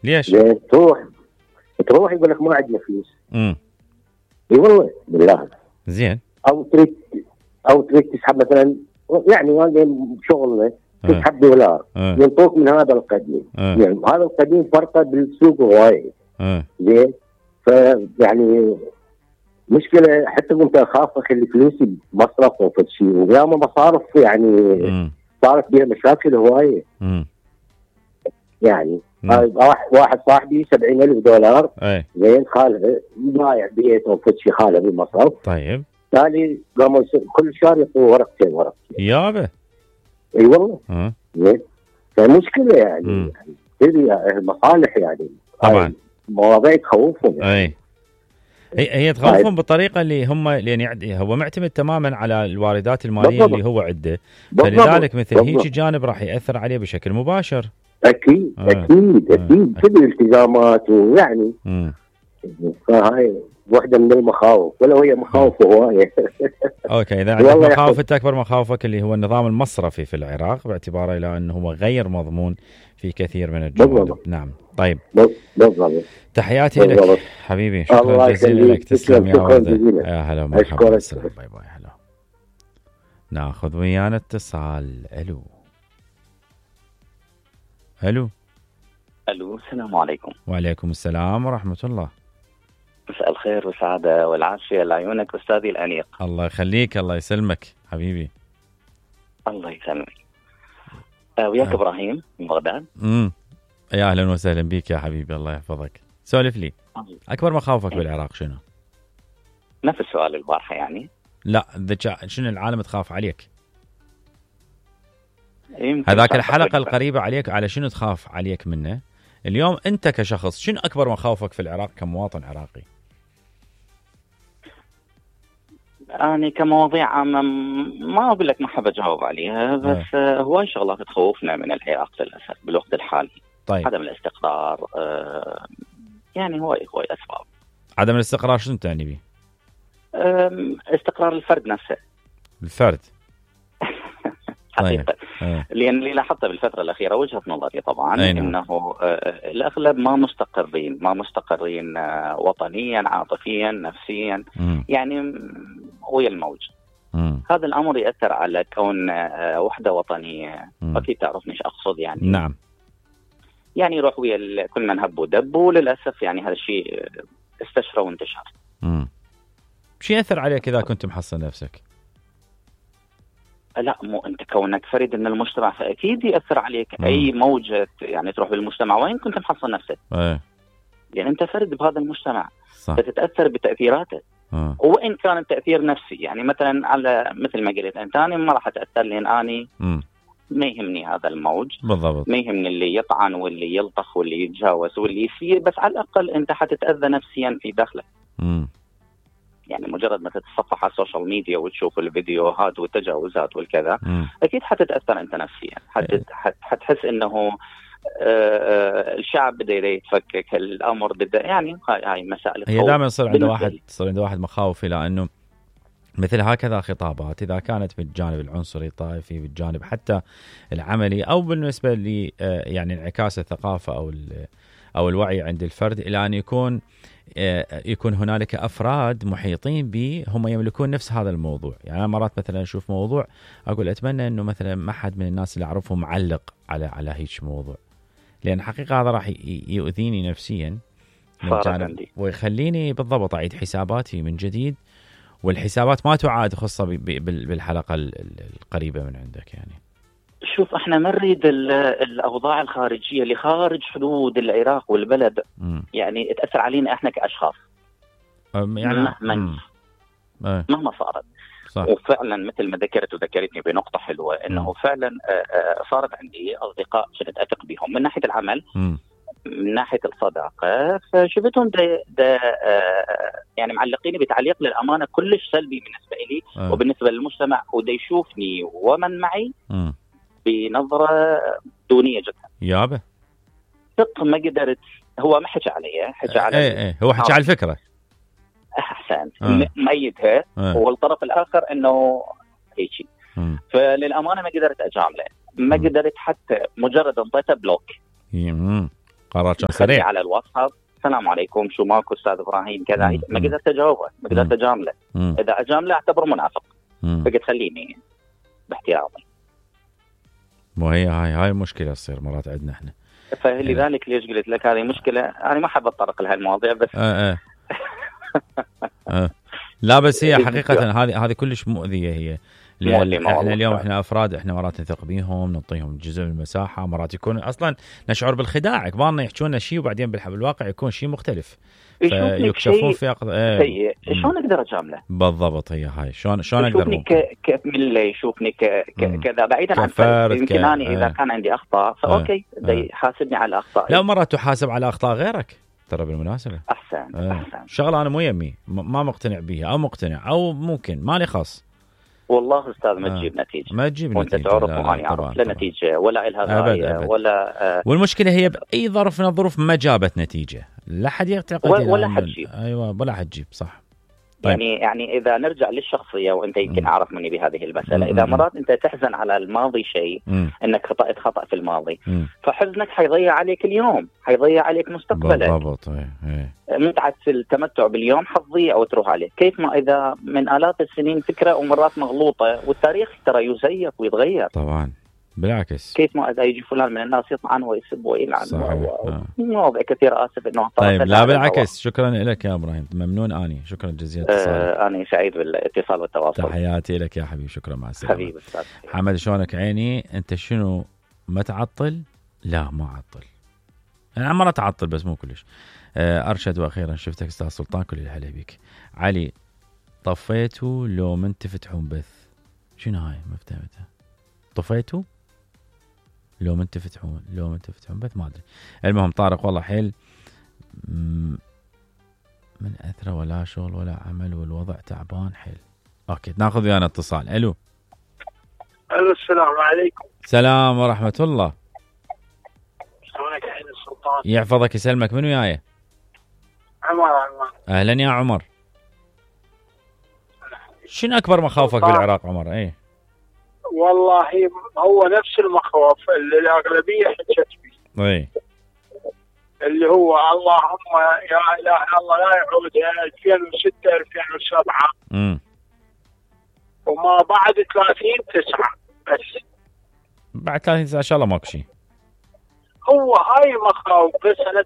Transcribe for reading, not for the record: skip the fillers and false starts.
ليش؟ زين تروح يقول لك ما عندنا فلوس. اي والله بالله. زين. او تريد تسحب مثلا، يعني وانا شغل تسحب دولار ينطوك من هذا القديم. يعني هذا القديم فرقه بالسوق هواي. زين. فيعني مشكله، حتى كنت اخاف اخلي فلوسي بمصرف او في شيء، وياما مصارف يعني صارت بها مشاكل هوايه. يعني واحد صاحبي $70,000 زين، خاله ضايع بيت او في شيء، خاله بالمصرف. طيب تالي قاموا كل شهر يعطوه ورقتين يابا. اي والله. زين. فمشكله يعني المصالح يعني طبعا مواضيع تخوفهم يعني. هي تخوفهم بالطريقه اللي هم، لان هو معتمد تماما على الواردات الماليه اللي هو عنده، فلذلك مثل هيك جانب راح ياثر عليه بشكل مباشر. اكيد كل الالتزامات، ويعني فهاي واحده من المخاوف، ولا هي مخاوف هوايه. اوكي، اذا عندك مخاوف، انت اكبر مخاوفك اللي هو النظام المصرفي في العراق، باعتباره الى انه هو غير مضمون في كثير من الجوانب. نعم. طيب بالضبط. تحياتي لك حبيبي، شكرا جزيلا لك. تسلم يا ولد. يا هلا ومرحبا. باي باي. هلا. ناخذ ويانا اتصال. الو. السلام عليكم. وعليكم السلام ورحمه الله. مساء الخير والسعاده والعافيه لعيونك استاذي الانيق. الله يخليك، الله يسلمك حبيبي. الله يسلمك. وياك ابراهيم من بغداد. يا اهلا وسهلا بك يا حبيبي، الله يحفظك. سولف لي، اكبر مخاوفك بالعراق شنو؟ نفس السؤال البارحه يعني. لا، شنو العالم تخاف عليك؟ هذاك الحلقه القريبه عليك، على شنو تخاف عليك منه؟ اليوم انت كشخص شنو اكبر مخاوفك في العراق كمواطن عراقي؟ أنا كمواضيع عامة ما أقول لك ما حاب أجاوب عليها، بس هواي شغلات تخوفنا من العراق للأسف بالوقت الحالي. طيب. عدم الاستقرار، يعني هواي أسباب. عدم الاستقرار شنو تعني به؟ استقرار الفرد نفسه. الفرد. حقيقة. لأن اللي لاحظته بالفترة الأخيرة، وجهة نظري طبعا، إنه الأغلب ما مستقرين وطنيا، عاطفيا، نفسيا، يعني ويا الموج. هذا الأمر يأثر على كون وحدة وطنية. أكيد تعرفني ايش أقصد يعني. نعم. يعني يروح ويا كل من هب ودب، وللأسف يعني هذا الشيء استشرى وانتشر. شو يأثر عليك إذا كنت محصن نفسك؟ لا، مو انت كونك فرد من المجتمع فاكيد ياثر عليك. اي موجه يعني تروح بالمجتمع وين كنت محصن نفسك. يعني انت فرد بهذا المجتمع. صح. فتتاثر بتاثيراته. وان كان التاثير نفسي، يعني مثلا على مثل ما قلت انت، انا ما راح اتاثر لان اني ما يهمني هذا الموج. بالضبط. ما يهمني اللي يطعن واللي يلطخ واللي يتجاوز واللي يسير، بس على الاقل انت حتتاذى نفسيا في داخلك. يعني مجرد ما تتصفح على السوشيال ميديا وتشوف الفيديوهات والتجاوزات والكذا، أكيد حتتأثر أنت نفسيا. حتحس إنه الشعب بده يتفكك، الأمر بده، يعني هاي مسائل. هي دائما يصير عند واحد مخاوف إلى أنه مثل هكذا خطابات، إذا كانت بالجانب العنصري الطائفي، بالجانب حتى العملي، أو بالنسبة ل يعني انعكاس الثقافة أو الوعي عند الفرد، إلى أن يكون هنالك أفراد محيطين به هم يملكون نفس هذا الموضوع. يعني أنا مرات مثلا أشوف موضوع أقول أتمنى أنه مثلا ما حد من الناس اللي أعرفهم معلق على هيك موضوع، لأن حقيقة هذا راح يؤذيني نفسيا ويخليني بالضبط أعيد حساباتي من جديد، والحسابات ما تعاد، خاصة بالحلقة القريبة من عندك. يعني شوف، احنا ما نريد الاوضاع الخارجيه اللي خارج حدود العراق والبلد يعني تاثر علينا احنا كاشخاص. يعني مهما صارت. صح. وفعلا مثل ما ذكرتني بنقطه حلوه، انه فعلا صارت عندي اصدقاء كنت اثق بهم من ناحيه العمل، من ناحيه الصداقه، فشفتهم يعني معلقيني بتعليق للامانه كلش سلبي بالنسبه لي وبالنسبه للمجتمع، ودا يشوفني ومن معي بنظرة دونية جدا. يابا ثق ما قدرت. هو ما حكى علي، حكى على هو حكى على الفكرة. أحسن. ميتها. والطرف الآخر إنه هيك. فللأمانة ما قدرت أجامله، ما قدرت، حتى مجرد انطيته بلوك. قرار كان سريع على الواتساب السلام عليكم شو ماكو استاذ ابراهيم كذا. ما قدرت اجاوبه، ما قدرت اجامله. اذا اجامله اعتبره منافق. فقلت خليني باحترامي. مو هاي مشكله تصير مرات عندنا احنا. فلذلك ليش قلت لك هذه مشكله، انا ما حاب اتطرق لهي المواضيع بس لا بس هي حقيقه هذه كلش مؤذيه هي. احنا اليوم احنا افراد، احنا مرات نثق بيهم، نعطيهم جزء من المساحه، مرات يكون اصلا نشعر بالخداع، كبارنا يحكون لنا شيء وبعدين بالواقع يكون شيء مختلف، فيكشفون في سيء. شلون اقدر اجامله؟ بالضبط هي هاي شلون اقدر كمله يشوفني كذا بعيدا عن فرد. يمكن اني اذا كان عندي اخطاء فاوكي يحاسبني على الاخطاء. لا مرات تحاسب على اخطاء غيرك ترى بالمناسبه. احسن شغله انا مو يمي ما مقتنع بيها او مقتنع او ممكن مالي خاص. والله استاذ ما تجيب نتيجه، ما تجيب وانت نتيجه. تعرف واني اعرف لا نتيجه ولا الها غايه ولا والمشكله هي باي ظرف من الظروف ما جابت نتيجه، لا حد يعتقد ولا حد يجيب. ايوه ولا حد يجيب صح. طيب. يعني اذا نرجع للشخصيه، وانت يمكن اعرف مني بهذه المساله، اذا مرات انت تحزن على الماضي شيء، انك خطأت خطأ في الماضي، فحزنك حيضيع عليك اليوم، حيضيع عليك مستقبلك. بالضبط. متعه التمتع باليوم حتضيع او تروح عليك. كيف ما اذا من آلاف السنين فكره ومرات مغلوطه، والتاريخ ترى يزيف ويتغير طبعا بالعكس. كيف ما اذا يجي فلان من الناس يطعن ويسب ويلعن مواضيع كثيره. اسف انه طيب لا بالعكس. شكرا لك يا ابراهيم، ممنون اني، شكرا جزيلا اتصالك. اني سعيد بالاتصال والتواصل. تحياتي لك يا حبيبي، شكرا، مع السلامه حبيبي استاذ حمد. شلونك عيني؟ انت شنو ما تعطل؟ لا ما اعطل، انا مره تعطل بس مو كلش. ارشد واخيرا شفتك استاذ سلطان، كل الهلا بيك. علي طفيتوا لو من تفتحون بث؟ شنو هاي ما فهمتها؟ طفيتوا لو من تفتحون بث ما ادري. المهم طارق والله حيل من اثره ولا شغل ولا عمل والوضع تعبان حيل. اوكي ناخذ ويانا اتصال. الو السلام عليكم. السلام ورحمه الله. شلونك يا عين السلطان؟ يحفظك يسلمك. من وياي؟ عمر. اهلا يا عمر. شنو اكبر مخاوفك بالعراق عمر؟ ايه والله هو نفس المخاوف اللي الاغلبيه حكت به. ايه اللي هو اللهم يا اله الله لا يعود 2006 2007 وما بعد 30/9 بس. بعد 30/9 ان شاء الله ماكو شيء. هو هاي مخاوف بس. انا